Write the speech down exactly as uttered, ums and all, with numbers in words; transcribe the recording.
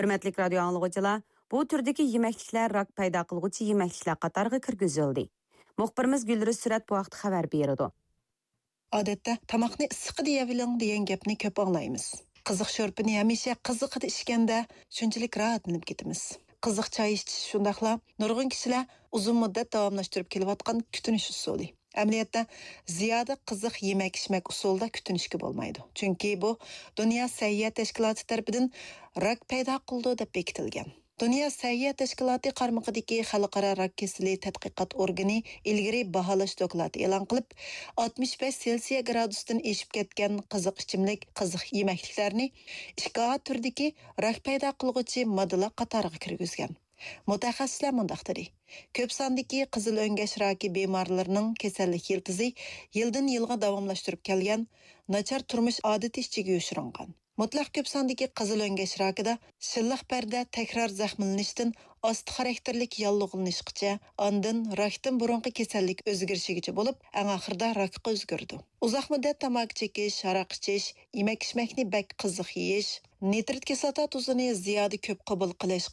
ھۆرمەتلىك رادىيو ئاڭلىغۇچىلار، بۇ تۈردىكى يېمەكلىكلەر راك پەيدا قىلغۇچى يېمەكلىكلەر قاتارىغا كىرگۈزۈلدى. مۇخبىرىمىز گۈلرۈز سۈرەت بۇ ھەقتە خەۋەر بېرىدۇ. ئادەتتە تاماقنى ئىسسىقىدا يەۋېلىڭ دېگەن گەپنى كۆپ ئاڭلايمىز. قىزىق شورپىنى ھەمىشە قىزىقىدا ئىچكەندە شۇنچىلىك راھەتلىنىپ كېتىمىز. قىزىق چاي ئىچىش شۇنداقلا نۇرغۇن كىشىلەر ئۇزۇن مۇددەت داۋاملاشتۇرۇپ كېلىۋاتقان كۈتۈنۈش ئۇسۇلى. ئەمەلىيەتتە، زىيادە قىزىق يېمەك-ئىچمەك ئۇسۇلىدا كۈتۈنۈشكە بولمايدۇ. چۈنكى بۇ دۇنيا سەھىيە تەشكىلاتى تەرىپىدىن راك پەيدا قىلىدۇ دەپ بېكىتىلگەن. دۇنيا سەھىيە تەشكىلاتى قارمىقىدىكى خەلقئارا راك كېسىلى تەتقىقات ئورگىنى ئىلگىرى باھالاش دوكلاتى ئېلان قىلىپ، ئاتمىش بەش سېلسىيە گرادۇستىن ئېشىپ كەتكەن قىزىق ئىچىملىك، قىزىق يېمەكلىكلەرنى ئىككى ئا تۈرىدىكى راك پەيدا قىلغۇچى ماددىلار قاتارىغا كىرگۈزگەن. مۇتەخەسسىسلەر مۇنداق دېدى: كۆپ ساندىكى قىزىل ئۆڭگەش راكى بىمارلىرىنىڭ كېسەللىك يىلتىزى يىلدىن يىلغا داۋاملاشتۇرۇپ كەلگەن ناچار تۇرمۇش ئادىتى ئىچىگە يوشۇرۇنغان. مۇتلەق كۆپ ساندىكى قىزىل ئۆڭگەش راكىدا شىللىق پەردە تەكرار زەخىملىنىشتىن ئاستا خاراكتېرلىك ياللۇغلىنىشقىچە، ئاندىن راكتىن بۇرۇنقى كېسەللىك ئۆزگىرىشىگىچە بولۇپ، ئەڭ ئاخىرىدا راكقا ئۆزگىرىدۇ. ئۇزاق مۇددەت تاماكا چېكىش، ھاراق ئىچىش، يېمەك-ئىچمەكنى بەك قىزىق يېيىش، نىترىت كىسلاتا تۇزىنى زىيادە كۆپ قوبۇل قىلىش